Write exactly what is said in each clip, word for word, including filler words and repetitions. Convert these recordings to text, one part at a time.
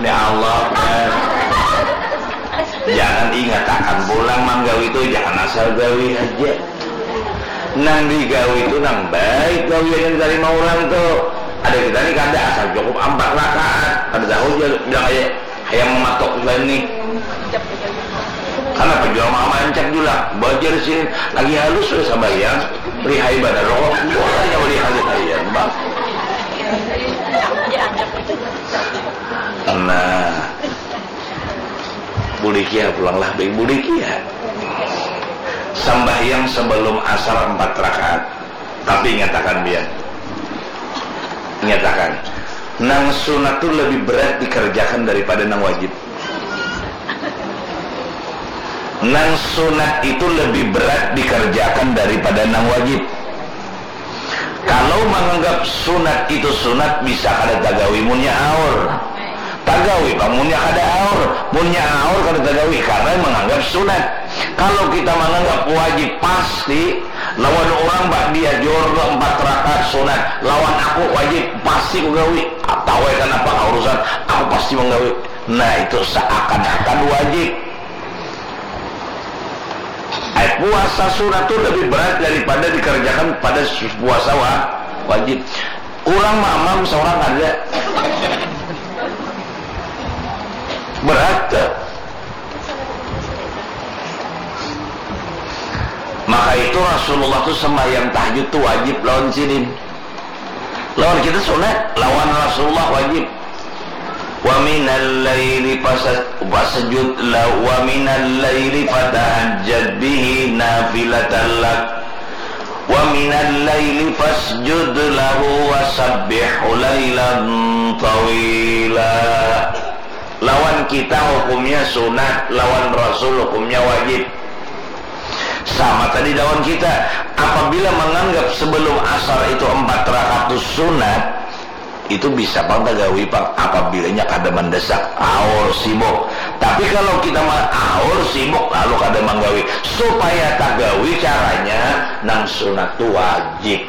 Ya Allah, kan? Jangan ingatakan pulang manggawi tu, jangan asal gawi haja. Nang digawi tu nang baik gawian yang tarima urang tu. Ada kita ni kada, asal cukup ampat rakaat. Kada tahu ja bilang aja, hayang mamatok sudah ni. Kanapa jua mama ancak jua lah, bajar sini lagi halus sudah sambahyang, lihai banar kok, bukannya lihai-lihaian bang. Nah, bulikia pulang lah, baik bulikia. Sambahyang sebelum asar empat rakaat. Tapi ingatakan biar, ingatakan, nang sunat tu lebih berat dikerjakan daripada nang wajib. Nang sunat itu lebih berat dikerjakan daripada nang wajib. Kalau menganggap sunat itu sunat, bisa kada tagawi munnya aur. Tagawi pang munnya kada aur. Munnya aur kada tagawi karena menganggap sunat. Kalau kita menganggap wajib pasti lawan orang ba'diyah juhur tu empat rakaat sunat, lawan aku wajib pasti ku gawi. Tahu ai kanapa kah urusan, aku pasti menggawi. Nah, itu seakan-akan wajib. Ai, puasa sunat tu lebih berat daripada dikerjakan pada puasa wa-, wajib. Urang mamam seorang ada. Berat tu. Maka itu Rasulullah tu sembahyang tahajud tu wajib lawan sidin. Lawan kita sunat, lawan Rasulullah wajib. Wa minal laili fasa-, fasjud la-, wa minal laili fatahajjad bihi nafilatan lak. Wa minal laili fasjud lahu wa sabbihu lailan tawila. Lawan kita hukumnya sunat, lawan Rasul hukumnya wajib. Sama tadi lawan kita, apabila menganggap sebelum asar itu empat rakaat tu sunat, itu bisa pang tagawi pang apabila nya kada mendesak, aur sibuk. Tapi kalau kita ma-, aur sibuk lalu kada manggawi, supaya tagawi caranya nang sunat tu wajib.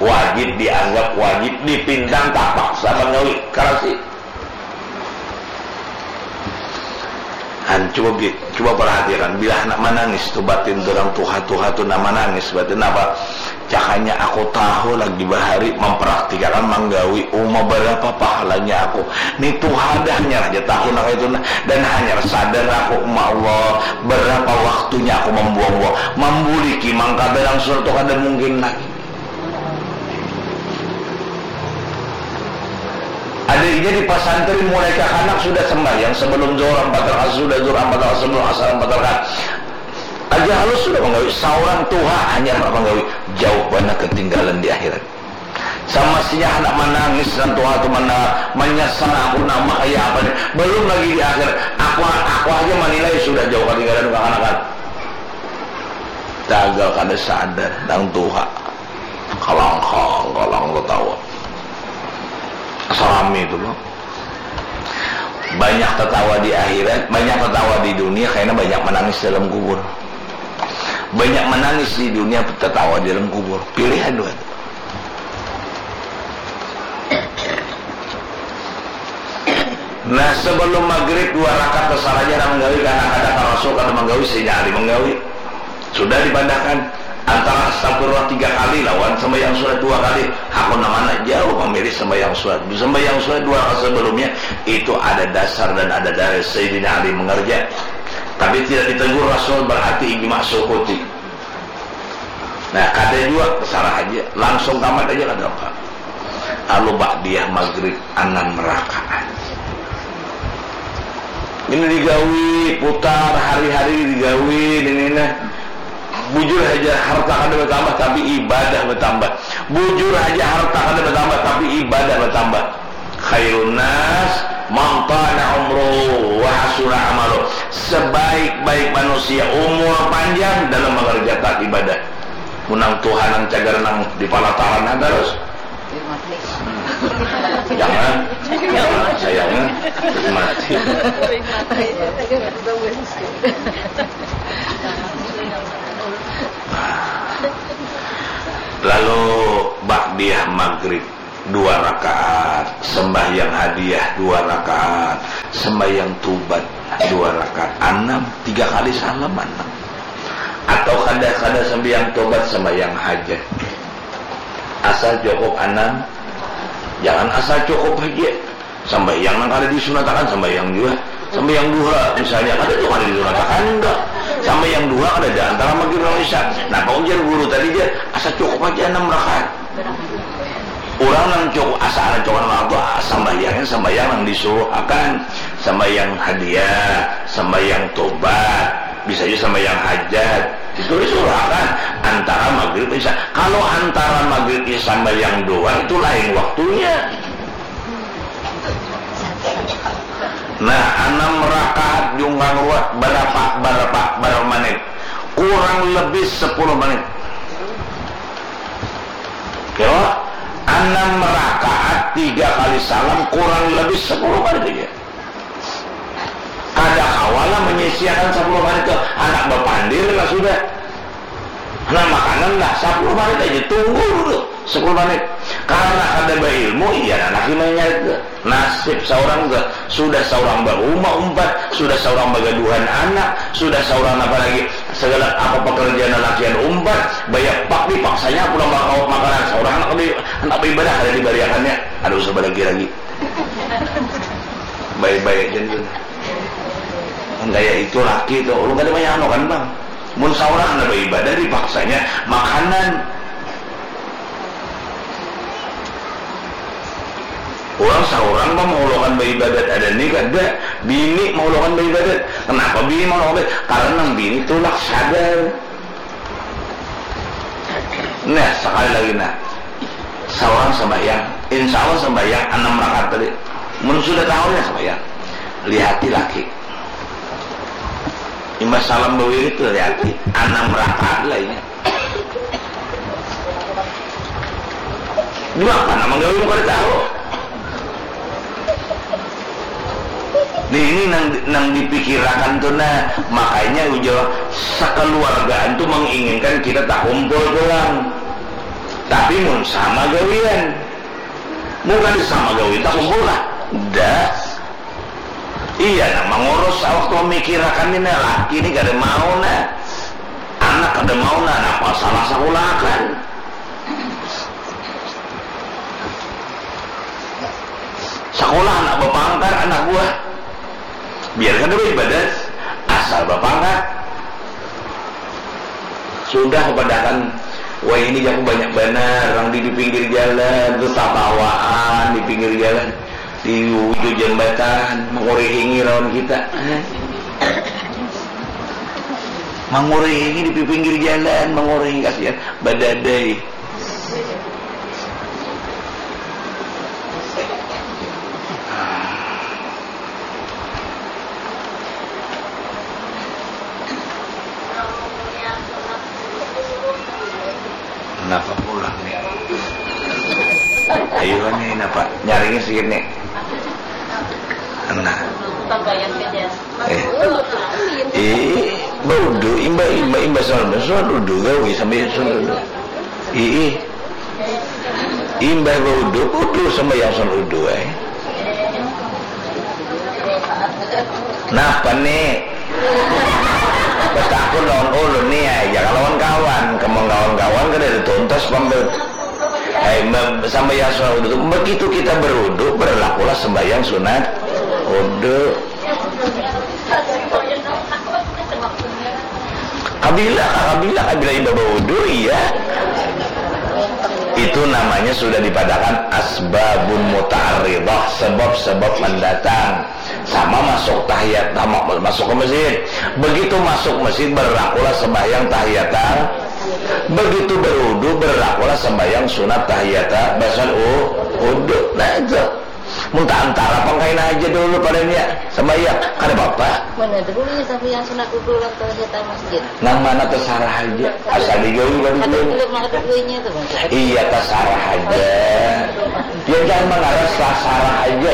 Wajib dianggap wajib, dipintang tapaksa manggawi. Karasi. Han, cuba bi-, cuba perhatikan, bila handak manangis tu batin tu, urang tuha-tuha tu nah manangis batin, napa? Cakanya, "Aku tahu lagi bahari mamperaktikakan manggawi uma, berapa pahalanya aku. Ni tuha dah, hanyar haja tahu nang itu nah, dan hanyar sadar aku, uma Allah, berapa waktunya aku mambuang-buang, mambuliki mangkada langsung tu kada mungkin lagi." Ada inya di pasantri, mulai kakanak sudah sembahyang sebelum zuhur ampat rakaat, sudah zuhur ampat rakaat, sebelum asar ampat rakaat. Aja halus sudah manggawi, saurang tuha hanyar handak manggawi, jauh banar ketinggalan di akhirat. Samasinya handak manangis nang tuha tu, mana manyasal aku nang makaya apa ni, belum lagi di akhir, aku, aku haja manilai sudah jauh ketinggalan kakanakan. Tagal kada sadar nang tuha. Kalangkang, kalang tatawa. Asa rami tu lo. Banyak tatawa di akhirat, banyak tatawa di dunia, karena banyak manangis dalam kubur. Banyak manangis di dunia, tatawa di dalam kubur. Pilihan dua tu. Nah, sebelum maghrib dua rakaat tasarahnya nang manggawi, karena kada ka Rasul kada manggawi, Sayyidina Ali manggawi. Sudah dipadahakan antara astagfirullah tiga kali lawan sembahyang sunat dua kali. Hakun nang mana? Jauh mamilih sembahyang sunat. Sembahyang sunat dua rakaat sebelumnya itu ada dasar dan ada dalil Sayyidina Ali mengerja. Tapi tidak ditegur Rasul, berarti ijma sukuti. Nah, kada jua, tasarah haja, langsung tamat haja, kada apa. Lalu ba'diyah maghrib anam rakaat. Ini digawi, putar, hari-hari digawi, ini nah. Bujur haja, harta kada bertambah, tapi ibadah bertambah. Bujur haja, harta kada bertambah, tapi ibadah bertambah. Khairun nas man tala umruhu wa hasuna amaluh. Sebaik-baik manusia umur panjang dalam mengerjakan ibadah. Mun nang tuha nang cagar nang di palataran terus. Jangan, jangan sayangnya mati. Lalu ba'diyah maghrib. dua rakaat, sembahyang hadiah dua rakaat, sembahyang tobat dua rakaat, anam, tiga kali salam, anam. Atau kada, kada sembahyang tobat, sembahyang hajat. Asal cukup anam, jangan asal cukup haja. Sambahyang nang kada disunatakan, sambahyang jua. Sambahyang duha, misalnya, kada tu kada disunatakan, enggak. Sambahyang duha kada ada antara maghrib lawan isya. Napa ujar guru tadi, jar? Asa cukup aja anam rakaat. Urang nang cukup, asa anam cukup anam rakaat tu, sambahyangnya sambahyang nang disuruhakan. Sambahyang hadiah, sambahyang tobat, bisa jua sambahyang hajat. Itu disuruhakan antara maghrib isya. Kalau antara maghrib isya sambahyang duha, itu lain waktunya. Nah, anam rakaat jungkang ruwet, berapa, berapa, berapa menit? Kurang lebih sepuluh menit. Yo, anam rakaat tiga kali salam kurang lebih sepuluh menit aja. Kada kawa lah menyisiakan sepuluh menit tu, anak bapandir lah sudah. Nah, makanan lah, sepuluh menit aja, tunggu dulu sepuluh menit. Karena kada berilmu, iya, nah, laki menyarit tu. Nasib seorang tu, sudah seorang berumah umpat, sudah seorang bagaduhan anak, sudah seorang apa lagi, segala apa pekerjaan lalakian umpat, banyak pak dipaksanya pulang bawa makanan, seorang anak di, anak beribadah kada dibariakannya, ada usah lagi lagi. Baik-baik aja tu. Mun kaya itu laki tu, ulun kada manyangka kan, Bang. Mun saurang handak baibadah dipaksanya makanan. Urang saurang mah maulakan baibadat ada ni kada, bini maulakan baibadat. Kenapa bini maulakan baibadat? Karena nang bini tulak sadar. Nah, sekali lagi nah. Saurang sambahyang, insya Allah sambahyang anam rakaat tadi. Mun sudah tahu ya sambahyang. Lihati laki. Imbah salam bawirid tu, lihati, anam rakaat lah ini. Jua apa nama gawi kada tahu. Nih, ini nang, nang dipikirakan tu nah, makanya ujar sekeluargaan tu menginginkan kita tak kumpul pulang. Tapi mun sama gawian, mun kada sama gawian tak kumpul lah. Dah. Iya, nah, mangurus awak tu memikirakan ini, laki ni kada mau, nah. Anak kada mau, nah, napa salah sakulakan. Sakulah anak bapangkat, anak buah. Biar kada baibadat, asal bapangkat. Sudah kapadakan, wah ini jaku banyak banar, nang di, di pinggir jalan tu tatawaan, di pinggir jalan. Di wujud jambatan, mangurihingi lawan kita. Mangurihingi di pinggir jalan, mangurihingi kasihan, badadai. Napa pulang nih? Ayo nih, napa? Nyaringnya sedikit nih. Nah. Eh. Eh, baudu, imba, imba, imba soal, soal udu gawi sampai soal udu. Ih, ih. Imbah baudu, udu sambayang sun udu ai. Napa ni? Batakun lawan ulun ni ai, jangan lawan kawan. Kemang kawan-kawan kada ada tuntas pang be-, ai, me-, sambayang sunat udu tu. Begitu kita berudu, berlakulah sembahyang sunat udu. Kabila, kabila, kabila imbah baudu, iya. Itu namanya sudah dipadakan asbabun muta'arridah, sebab-sebab mendatang. Sama masuk tahiyat, sama masuk ke masjid. Begitu masuk masjid, berlakulah sembahyang tahiyat. Begitu berudu, berlakulah sembahyang sunat tahiyat. Basan u-, udu. Nah, itu. Mun taantara pang kaina haja dahulu padanya sambayang, kada papa. Mana ada bulunya sambayang sunat udu lawan tahiyat masjid. Nang mana tasarah haja, asal digawi kada bulunya. Kada bulunya tu, Bang. Iya, tasarah haja. Ya, jangan mangaras, tasarah haja.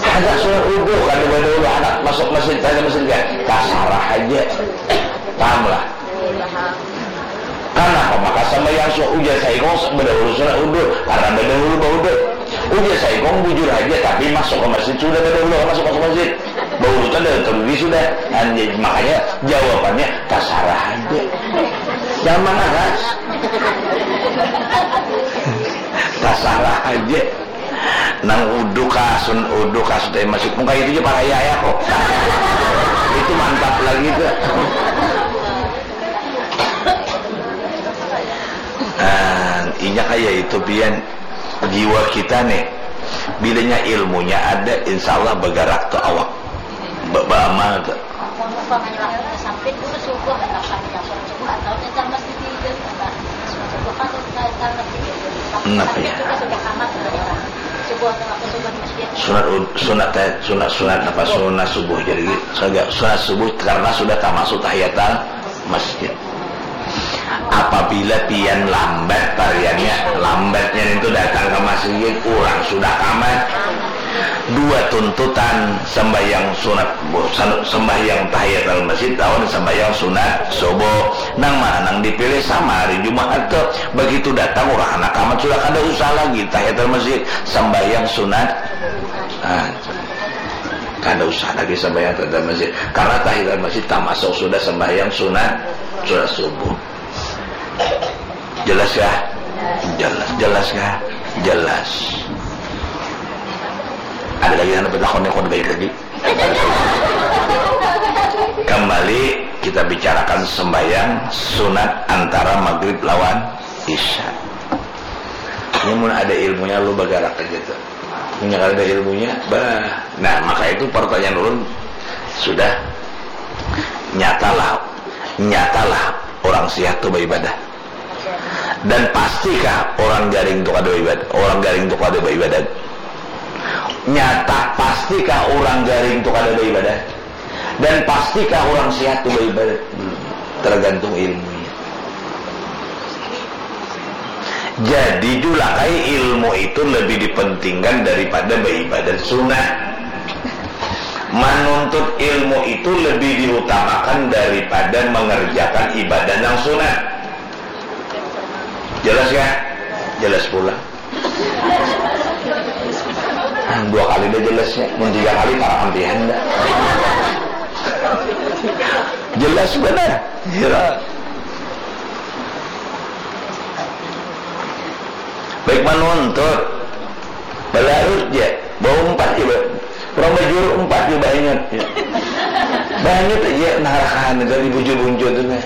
Ada sunat udu kada badahulu anak masuk masjid, kada masjid, kan? Tasarah haja. Paham lah? Iya, paham. Kenapa maka sambayang suah? Ujar saikung, bedahulu sunat udu, karena bedahulu baudu. Ujar saikung, bujur haja, tapi masuk ke masjid sudah bedahulu masuk, masuk masjid. Baudu tu ada terlebih sudah. Nah, jadi makanya jawabannya tasarah haja. Jangan mangaras. Tasarah haja. Nang udu kasun, udu kasun dari masjid. Muka itu aja paraya ya kok. Itu mantap lagi tuh. Nah, inya kaya itu pian. Jiwa kita nih, bilanya ilmunya ada, insya Allah bagarak tuh awak. Ba- baamal tuh. Mun umpamanya waktu tasampit dulu subuh, lapan jam subuh atau tatar masjid di, di, apa, subuh kan tatar masjid itu. Waktu Kenapa tasampit ya? Juga sudah kamat sudah orang. Subuh atau waktu subuh di masjid. Sunat ud- sunat teh, sunat, sunat apa, sunat subuh. Jadi sunat, sunat subuh karena sudah tamasuk tahiyatul masjid. Apabila pian lambat, variannya lambatnya itu datang ke masjid, urang sudah kamat. Dua tuntutan sembahyang sunat, sembahyang tahiyatul masjid lawan sembahyang sunat subuh. Nang mana nang dipilih? Sama hari Jumaat tu. Begitu datang urang anak kamat sudah kada usah lagi tahiyatul masjid, sembahyang sunat. Nah, kada usah lagi sembahyang tahiyatul masjid karena tahiyatul masjid tamasuk sudah sembahyang sunat, sunat subuh. Jelas ya? Jelas. Jelas ya? Jelas. Ada lagi yang bertakon yang kau baik lagi? Kembali kita bicarakan sembahyang sunat antara maghrib lawan isya. Ini mun ada ilmunya lu bagarak aja tuh. Punya kada ada ilmunya, bah. Nah, maka itu pertanyaan ulun sudah nyatalah, nyatalah orang sihat tu beribadah. Dan pastikah orang garing tu kada beribadah? Orang garing tu kada beribadah. Nyata, pastikah orang garing tu kada beribadah? Dan pastikah orang sihat tu beribadah? Hmm, tergantung ilmunya. Jadi julakai ilmu itu lebih dipentingkan daripada beribadah sunat. Menuntut ilmu itu lebih diutamakan daripada mengerjakan ibadah yang sunat. Jelas ya? Jelas pula. Dua kali dah jelasnya, mun tiga kali parah ampihan dah. Jelas benar. Ya. Baik menuntut, balarut ya, baumpat ya, orang bajuru umpat ya, banyak ya. Banyak aja narakan dari bujur-bujur tuh nah.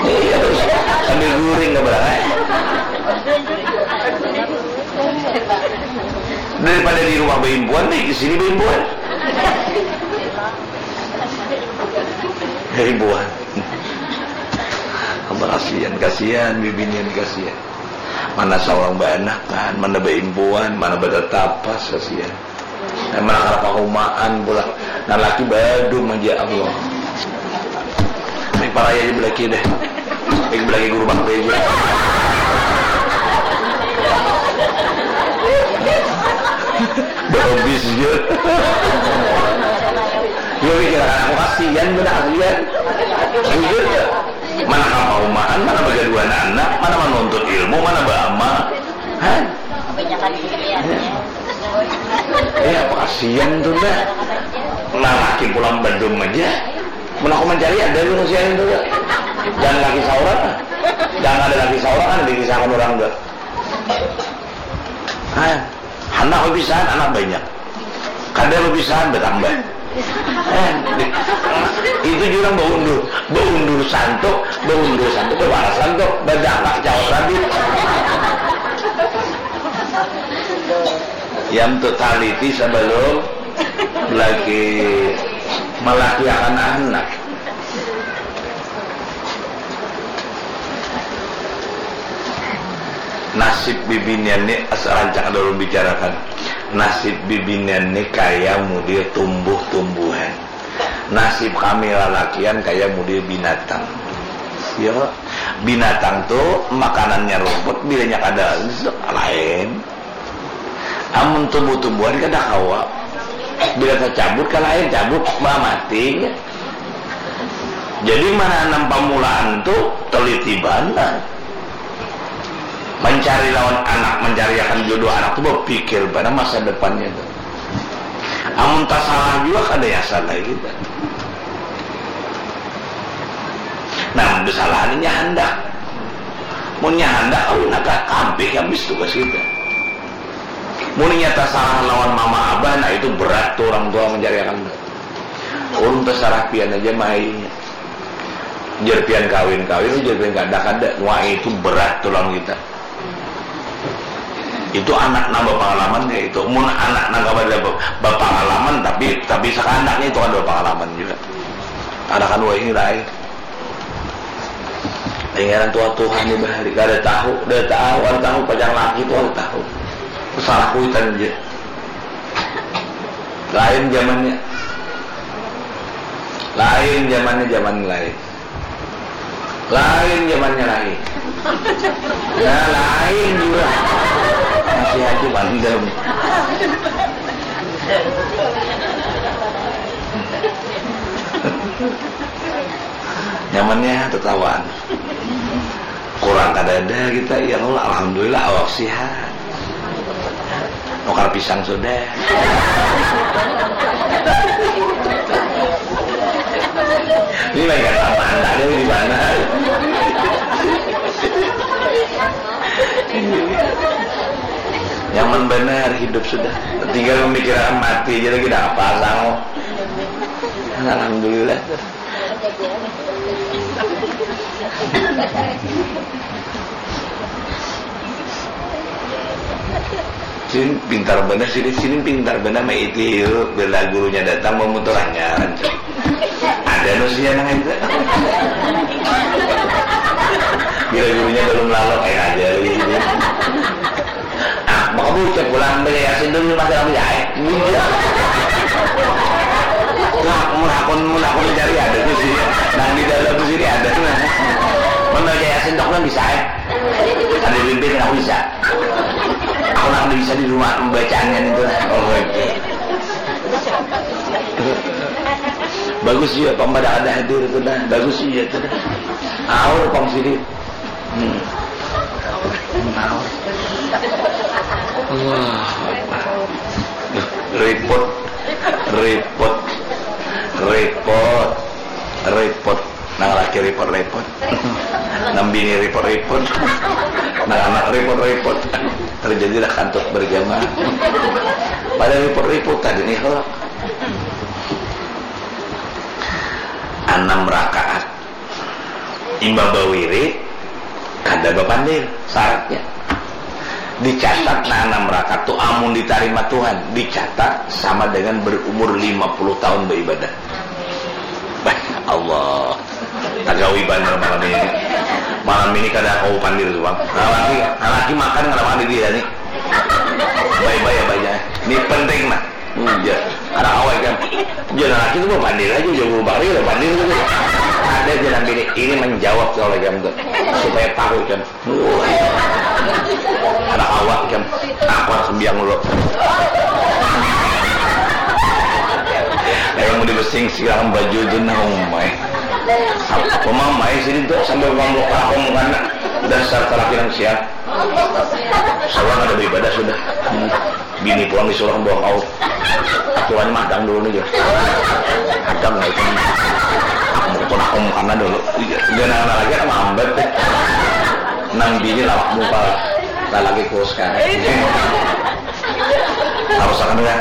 Iya, terus sambil guring ke belakang. Daripada di rumah beimpuan, di sini beimpuan. Beimpuan. Apa kasihan, kasihan, bibinian kasihan. Mana seorang beanakan, mana beimpuan, mana bertetapas, kasihan. Mana kada pahumaan pula. Nah, laki badum aja Allah. Ini paraya aja belaki deh. Ini belaki guru bakti aja. Behabis aja. Ya, pikiran aku kasihan, benar kasihan. Jujur ya. Mana kapahumaan, mana bagaduan anak, mana menuntut ilmu, mana beramal. Hah? Kebanyakan pikiran. Ya, apa kasihan tuh dah. Nah, laki pulang bedum aja. Mun aku mencari ada manusia itu dah. Jangan laki seorang lah. Jangan ada laki seorang, ada dikisahkan orang dah. Hah? Anak bapisahan, anak banyak. Kada bapisahan, bertambah. Eh, itu jurang baundur, baundur santuk, baundur santuk, babalas santuk, badangkak jawab tadi. Yang tu taliti sebelum lagi melahirkan anak. Nasib bibinian ni, as-, rancak ada ulun bicarakan. Nasib bibinian ni kaya mudir tumbuh-tumbuhan. Nasib kami lalakian kaya mudir binatang. Ya, binatang tu makanannya rumput, bilanya kada lain. Amun tumbuh-tumbuhan kada kawa. Bila tacabut, kalain cabut, mamati. Jadi, mananam pamulaan tu teliti banar. Pancari lawan anak, mancariakan jodoh anak tu bapikir banar masa depannya tu. Amun tasalah jua kada nyasal lagi kita. Nah, mun basalahan inya handak. Munnya handak, kawin agak kabih habis tugas kita. Munnya tasalah lawan mama abah, nah itu berat tu orang tua mancariakan tu. Ulun tasarah pian aja mai. Jar pian kawin, kawin, jar pian kada, kada. Wah, itu berat tulang kita. Itu anak nang bapangalaman kaya itu. Mun anak nang kada ba- bapangalaman tapi tapi sakanaknya itu kada bapangalaman jua. Anakan wahini lain. Ingaran tuha-tuha ni bahari kada tahu, kada tahu, kada tahu pacar laki tu kada tahu. Salah kuitan ja. Lain zamannya. Lain zamannya, zaman lain. Lain zamannya lain. Ya lain juga. Masih aja bandem. Nyamannya tetawaan. Kurang kadada kita, ya Allah, alhamdulillah awak sihat. Nukar pisang sudah. Ini lagi kata mana ada di mana? Nyaman benar hidup sudah. Tinggal memikirkan mati aja lagi dah apa sang. Alhamdulillah. Sini pintar benar, sini sini pintar benar maiti yuk. Bila gurunya datang memuturannya. Ada nusia nang itu. Bila gurunya belum lalu kayak aja ini. Ah, maka bocah pulang beli yasin dulu masih lama jahit. Nah, mun hakun mun hakun cari ada tuh sih. Nah, di dalam tuh sini ada tuh. Nah. Mun baca yasin dok kan bisa ya. Ada pimpin aku bisa. Aku nak bisa di rumah pembacaannya itu. Oh, oke. Bagus juga pang pada ada hadir itu dah. Bagus juga itu dah. Aur pang sini. Hmm. Aur. Allah. Repot, repot, repot, repot. Nang laki repot-repot. Nang bini repot-repot. Nang anak repot-repot. Terjadilah kantuk berjamaah. Pada repot-repot tadi nih, kalau anam rakaat. Imbah bawiri, kada bapandir syaratnya. Dicatat nah, anam rakaat tu amun ditarima Tuhan, dicatat sama dengan berumur lima puluh tahun beribadah. Bah, Allah. Tagawi banar malam ini. Malam ini kada kawa pandir tu, Bang. Nah, laki, nah, laki makan kada makan di dia ni. Baik-baik aja. Ini penting nah. Hmm, ya. Kada kawa kan. Jangan laki tu bapandir aja, jauh bari ada pandir tu. Ada jangan bini ini menjawab soal jam tu. Supaya tahu kan. Wah. Kada kawa kan. Aku harus biang dulu. Kayak mau dibesing silang baju tu nah, umai. Apa mamai sini tu sambil ngomong aku mukana. Dasar terakhir siang. Salah ada beribadah sudah. Hmm. Bini pulang disuruh bawa kau. Aturan madang dulu nih, Jo. Madang lah itu. Aku mau ketemu aku karena dulu. Iya, dia nang lagi aku hambat deh. Nang bini lawak muka. Lah lagi kurus kan. Harus akan ya.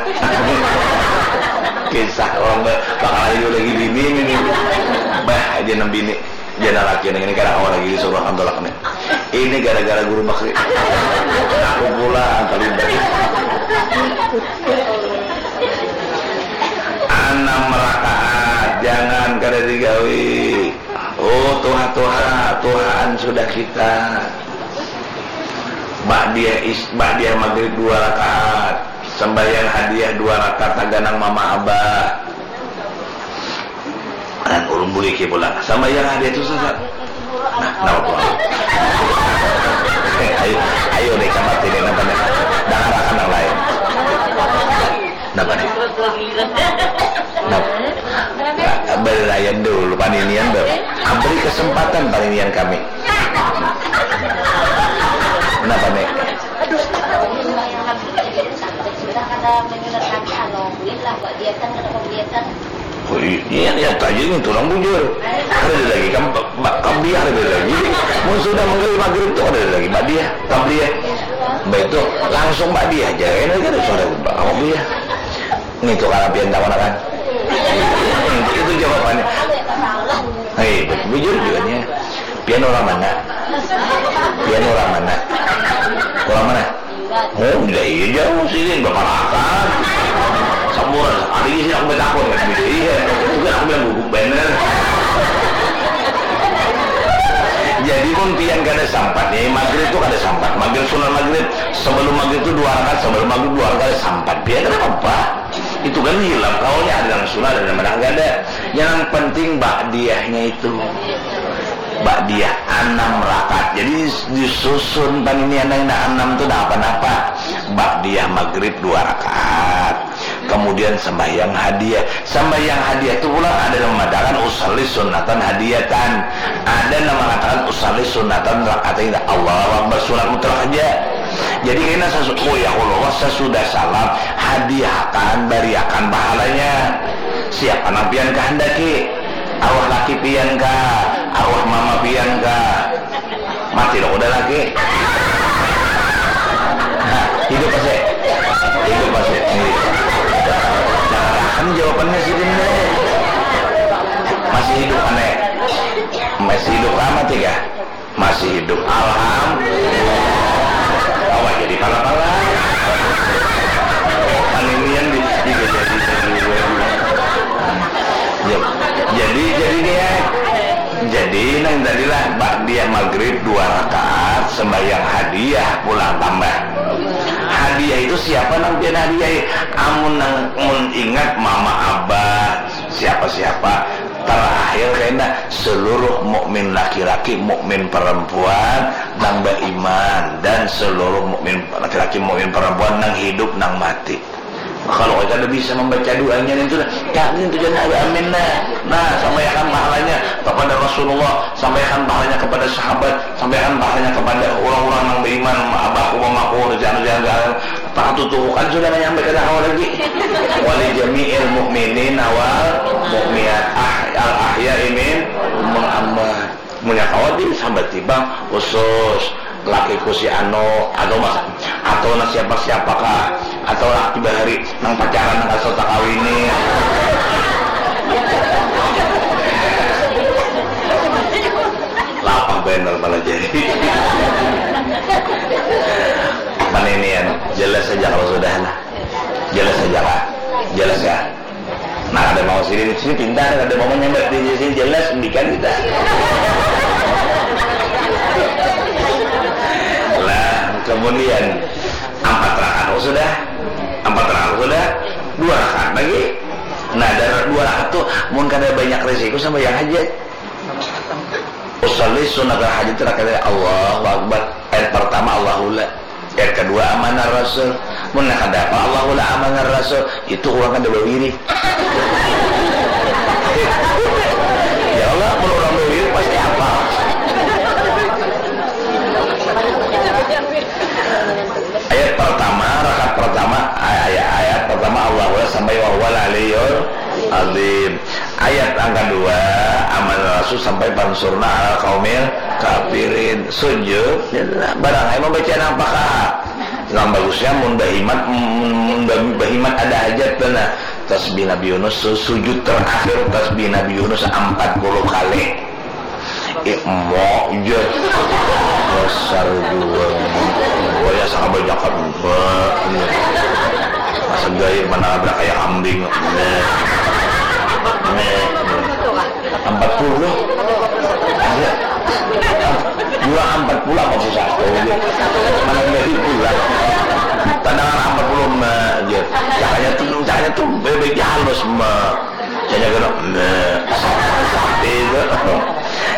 Kisah orang be- bakal aja lagi bini ini. Bah, aja nang bini. Jana laki nang ini kada kawa lagi disuruh nang tulak nih. Ini gara-gara guru bakri. Aku pulang terlibat. Anam rakaat, jangan kada digawi. Oh, tuha-tuha, tuhaan sudah kita. Ba'diyah is- ba'diyah maghrib dua rakaat. Sembahyang hadiah dua rakaat taganang mama abah. Nah, ulun buliki pulang. Sambayang ada itu sasa. Nah, napa pulang? Eh, ayo, ayo deh, cepat ini, napa nih? Dangarakan yang lain. Napa nih? Napa? Nah, belayan dulu, paninian, Beb. Beri kesempatan paninian kami. Kenapa nih? Aduh, sudah kada menyulat lagi, alhamdulillah, buat dia kan, kada buat dia kan. Oh, iya, iya, nyata aja nih, orang bujur. Ada lagi, kam-, ba-, qabliyah ada lagi. Mun sudah menggali maghrib tuh ada lagi, ba'diyah, qabliyah. Baik tuh, langsung ba'diyah aja, enak aja sudah qabliyah. Ini tuh kalau pian tahu kan? Itu jawabannya. Hei, bujur juga nya. Pian orang mana? Pian orang mana? Orang mana? Oh, udah iya jauh sini, berparakan. Samuran sekali sih aku betakun kan bisa iya. Bukan aku bilang guguk bener. Jadi mun pian kada sampat nih, maghrib tuh kada sampat. Maghrib, sunat maghrib, sebelum maghrib tuh dua rakaat, sebelum maghrib dua rakaat sampat. Pian kada apa-apa. Itu kan hilaf kaulnya, ada nang sunat, ada nang kada. Yang penting ba'diyahnya itu. Ba'diyah anam rakaat. Jadi disusun paninian nang anam tu dah apa-apa. Ba'diyah maghrib dua rakaat. Kemudian sembahyang hadiah. Sembahyang hadiah tu pulang ada nang mengatakan usalli sunatan hadiyatan. Ada nang mengatakan usalli sunatan rakaat. Allahu Akbar, sunat mutlak aja. Jadi kena sesu-, oh ya Allah, sesudah salam hadiahkan, bariakan pahalanya. Siapa nang pian kehendaki? Arwah laki pian kah? Arwah mama pian kah? Mati dong udah laki. Nah, hidup masih. Hidup masih. Iya. Jangan jawabannya sih, Din, deh. Masih hidup, aneh. Masih hidup lama tiga. Masih hidup. Alhamdulillah. Awak jadi pala-pala. Paninian di, di, di, di, di, di. Ya, jadi, jadi nih ya. Jadi nang tadilah ba'diyah maghrib dua rakaat, sembahyang hadiah pulang tambah. Hadiah itu siapa nang pian hadiahi? Amun nang mun ingat mama abah, siapa-siapa, terakhir kena seluruh mukmin laki-laki, mukmin perempuan nang beriman, dan seluruh mukmin laki-laki, mukmin perempuan nang hidup, nang mati. Kalau kita ada bisa membaca doanya itu, ya, itu jangan ada amin, nah. Nah, sampaikan pahalanya kepada Rasulullah, sampaikan pahalanya kepada sahabat, sampaikan pahalanya kepada orang-orang yang beriman, abahku, mamaku, jangan, jangan, jangan. Pak tutuhukan sudah menyampaikan awal lagi. Wali jami'il mukminin wal mukminat, ah, al ahya'i minhum wal amwat. Munnya kawa di sambat tiba khusus lakiku si anu atau mas atau na siapa siapa kah atau laki bahari nang pacaran nang kasar takawini. Lapah bener malah jadi. Mana ini ya? Jelas saja kalau sudah lah. Jelas saja kah? Jelas ya. Nah, ada mau sini, sini pintar, ada mau menyambat di sini jelas, pendidikan kita. Lah, kemudian empat rakaat sudah, empat rakaat sudah, dua rakaat lagi. Nah, dari dua rakaat tuh, mun kada banyak resiko sama yang aja. Usalli sunat hajat rakaat, Allahu Akbar. Ayat pertama Allahullah. Yang kedua amanah Rasul. Mun kada apa Allahullah amanah Rasul, itu orang kada bawiri. Ya Allah, mun orang bawiri pasti apa? Ayat pertama, rakaat pertama, ay- ayat, ayat pertama Allahullah sampai wa huwal aliyul azim. Ayat yang kedua, amanah Rasul sampai pansurna ala kaumil kafirin. Sujud, ya, barang ai membaca nang paha. Nang bagusnya mun bahimat, mun, mun ba- bahimat ada hajat, nah, tasbih Nabi Yunus, su- sujud terakhir tasbih Nabi Yunus empat puluh kali. Eh, mau je. Dasar jua. Wayah sama banyak kan. Mbak. Masa gaya mana ada kayak kambing. Mbak. Mbak. Empat puluh. Ada. Dua empat puluh apa susah? Oh, iya. Mana dari pula? Tandangan empat puluh, Mbak. Cakanya tuh, cakanya tuh bebeknya halus, Mbak. Jadi kena, nah, itu.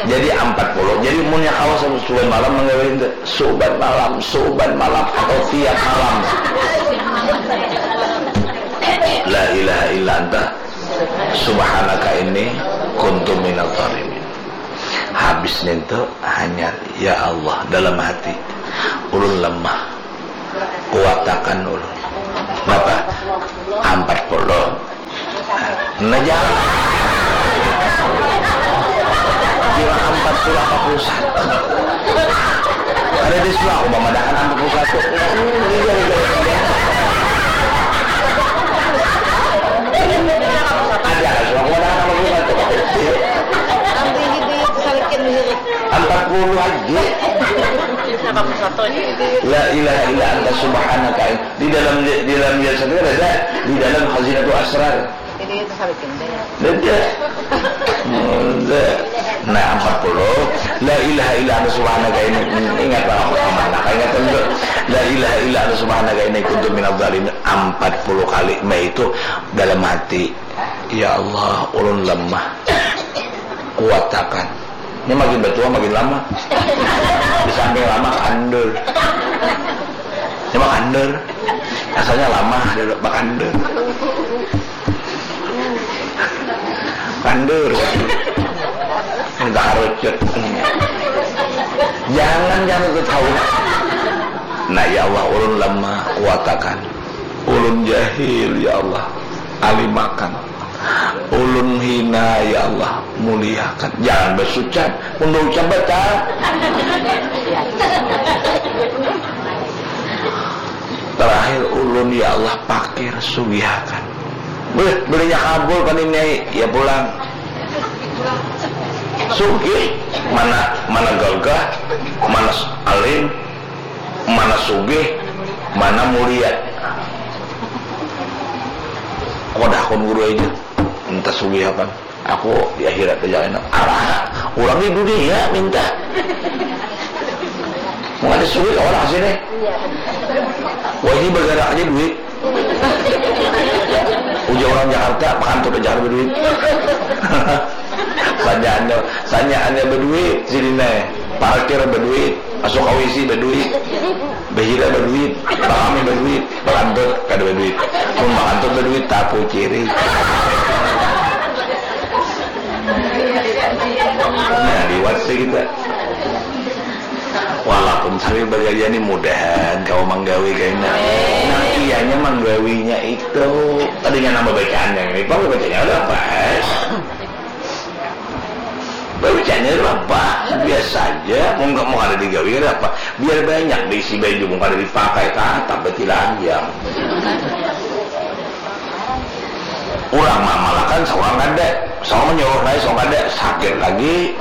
Jadi empat puluh. Jadi munnya kawa suban malam menggawe itu. Suban malam, suban malam atau tiap malam. La ilaha illa anta subhanaka inni kuntu minadh dhalimin. Habis nintu hanya ya Allah dalam hati. Ulun lemah. Kuatakan ulun. Napa? Ampat puluh. Nah, jangan. Kira ampat puluh, ampat puluh satu. Ada di sebelah aku mamadahakan ampat puluh satu. Ada, aku mamadahakan ampat puluh satu. Ampat puluh aja. La ilaha illa anta subhanaka. Di dalam, di dalam Yasin itu ada, di dalam Khazinatul Asrar. Ada. Ada. Nah, ampat puluh. La ilaha illa anta subhanaka ini, ingat lah, aku kemana? Ingat lah. La ilaha illa anta subhanaka ini kuntu minadz dzalimin. Ampat puluh kali. Mbah itu dalam hati, "Ya Allah, ulun lemah. Kuatakan." Ini makin bertua, makin lama. Di samping lama, kandur. Ini mah kandur. Asalnya lama, ada bakandur. Kandur. Minta harucut. Jangan, jangan itu tahu. Nah, ya Allah, ulun lemah, kuatakan. Ulun jahil, ya Allah, alimakan. Ulun hina, ya Allah, muliakan. Jangan basucan, mun baucap batal. Terakhir ulun, ya Allah, pakir, sugihakan. Beh, belinya kabul pan ini, ya pulang. Sugih, mana, mana gagah, mana alim, mana sugih, mana mulia. Kodakun guru aja, minta sugih apa? Aku di akhirat aja enak. Arah, orang di dunia minta. Mau ada sugih orang sini. Wah, ini bergerak aja duit. Ujar orang Jakarta, pakantut aja kada baduit. Sanyaannya, sanyaannya baduit, sidin ai. Parkir baduit, masuk kawisi baduit, bahira baduit, bakami baduit, bakantut kada baduit. Mun bakantut baduit, tapuciri. Nah, liwat sih kita. Walaupun sambil bagaya ni, mudahan kawa manggawi kaina. Nang iyanya manggawinya itu, tadinya nang babacaan nang ini, pang babacanya ada apa? Babacanya ada apa? Biasa aja, mau nggak mau ada digawi, ada apa? Biar banyak diisi baju, mau kada dipakai, tatap batilanjang. Urang maamalakan, saurang kada. Saurang manyuruh nai, saurang kada. Sakit lagi.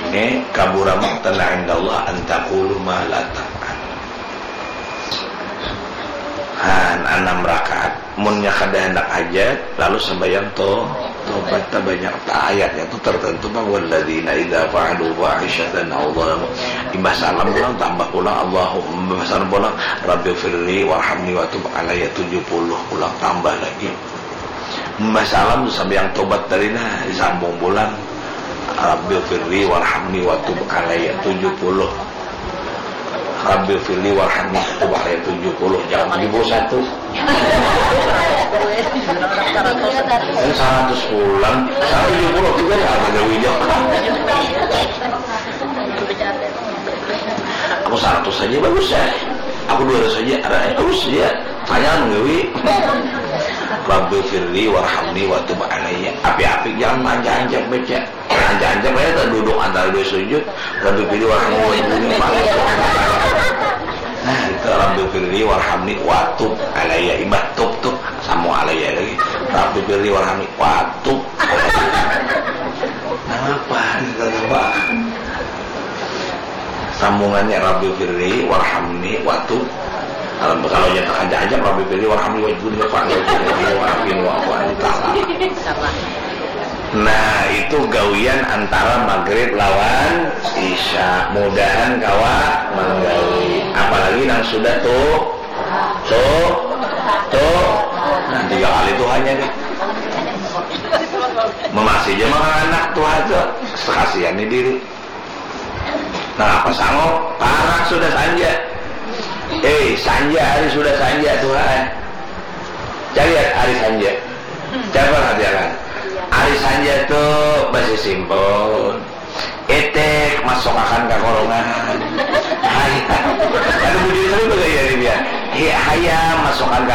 Ini kabura maqtan indallah an taqulu ma la taf'al. Han, anam rakaat. Munnya kada handak hajat, lalu sambayang to, tobat ta banyak ta. Ayatnya tu tertentu pang, walladzina idza fa'alu fahisyatan aw dzalamu. Imbah salam pulang, tambah pulang, Allahumma, imbah salam pulang, Rabbighfirli warhamni wa tub alayya, tujuh puluh pulang, tambah lagi. Imbah salam tu sambayang tobat tadi nah, disambung pulang, Rabbighfirli warhamni wa tub alayya, tujuh puluh. Rabbighfirli warhamni, tub alayya, tujuh puluh, jangan tujuh puluh satu. Ini seratus pulang, seratus tujuh puluh juga ya, ada wijak. Aku seratus saja bagus ya. Aku dua ratus saja, ada ya, bagus ya. Tanya menggawi. Rabbighfirli warhamni wa tub alayya. Api-api, jangan manja-anja baca. Ancak-ancak bae taduduk antara dua sujud, Rabbighfirli warhamni wa tub alayya. Nah, itu Rabbighfirli warhamni wa tub alayya. Imbah tub tu, sambung alayya lagi. Rabbighfirli warhamni wa tub alayya. Napa? Napa? Sambungannya, Rabbighfirli warhamni wa tub. Kalau, kalau nyatakan aja, Rabbighfirli warhamni wajhurni wa fa'ni wajhurni wa afini wa'fu anni. Nah, itu gawian antara maghrib lawan isya. Mudahan kawa manggawi. Apalagi nang sudah tuh, tuh, tuh. Nah, tiga kali tuh hanya deh. Memasih aja mah anak tuh aja. Sekasian nih diri. Nah, apa sanggup? Parak sudah sanja. Eh, sanja hari sudah sanja, Tuhan. Cari hari sanja. Coba perhatikan. Hari sanja tuh masih simpel. Etek, masukakan ka korongan. Hayam. Ada bujur tadi bagaya nih dia. Hi- hayam masukakan ka